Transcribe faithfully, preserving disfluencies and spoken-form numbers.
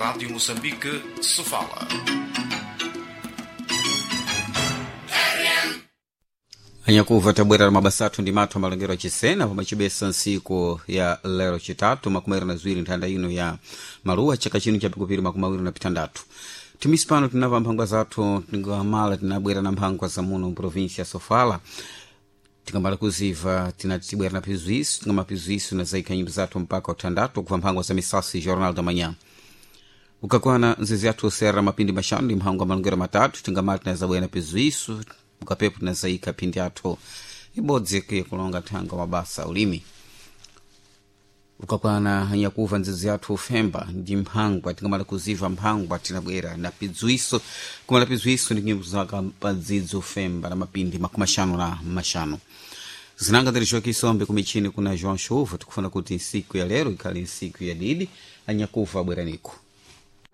Rádio Moçambique, Sofala. Anyakuva tabwera la mabasa athu ndi mathu amalongero achisena pomwe chibesa ntsiku ya lero chitatu makumi awiri na ziwiri nthanda ino ya maluwa chaka chino cha pikupiri makumi awiri na pitandatu. Timisi pano tinamva mphangwa zathu, tingamala tinabwera na mphangwa za muno mprovinsia ya Sofala. Tingamala kuziva tinati tibwera na pizwiso, tingamapizwiso na zaikha nyimbo zathu mpaka uthandatu kuva mphangwa za misasi Jornal da Manhã. Ukakwana nzizi yathu sera mapindi maxanu ndi mphangwa malongero matatu, tingamala tinazabwera na pizwiso ukapepo tinazaikha phindi athu ibodzi kuye kulonga thanga mabasa ulimi. Ukakwana nyakuva nzizi yathu ufemba ndi mphangwa, tingamala kuziva mphangwa tinabwera na pidzwiso, kumala pidzwiso ndi nyimbo zaka padzidzo ufemba na mapindi makumi axanu na maxanu. Zinanga ndiri Kisombe kumichini kuna João Chuva. Tikufuna kuti nsiku ya lero ikhale nsiku ya didi. Anyakuva abweraniko.